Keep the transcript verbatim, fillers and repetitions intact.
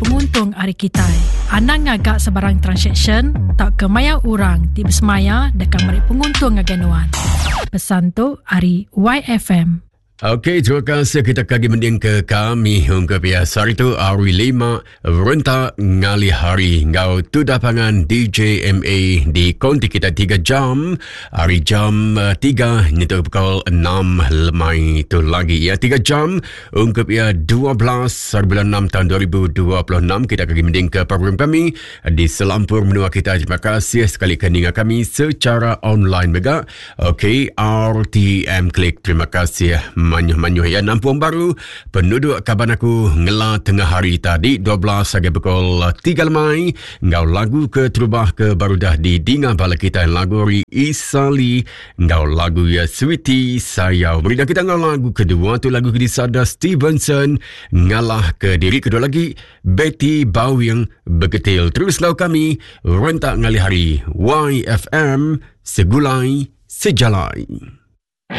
penguntung ari kitai. Anang ngaga sebarang transaction tau ke maya orang ti besemaya deka meri penguntung ngagai nuan. Pesan tu ari Y F M. Okey, terima kasih kita kagi mending ke kami hingga biasa hari tu hari lima rentak ngalih hari ngau tu dapangan D J M A di konti kita tiga jam hari jam eh, tiga nyentuh pukul enam lemai tu lagi ya, tiga jam ungkup ya dua belas hari bulan enam tahun dua ribu dua puluh enam. Kita kagi mending ke program kami di selampur menua kita. Terima kasih sekali ke ninga kami secara online mega. Okey, R T M Klik, terima kasih manyuh-manyuh ya. Nampung baru penduduk kaban aku ngela tengah hari tadi dua belas sampai pukul tiga lemai ngau lagu ke terubah ke baru dah di dinga bala kita, lagu ri Isali ngau lagu ya Sweetie Sayau. Beri kita ngau lagu kedua tu, lagu ke disada Stevenson ngalah ke diri, kedua lagi Betty Bawing Begetil. Terus lau kami rentak ngalih hari Y F M, Segulai Sejalai.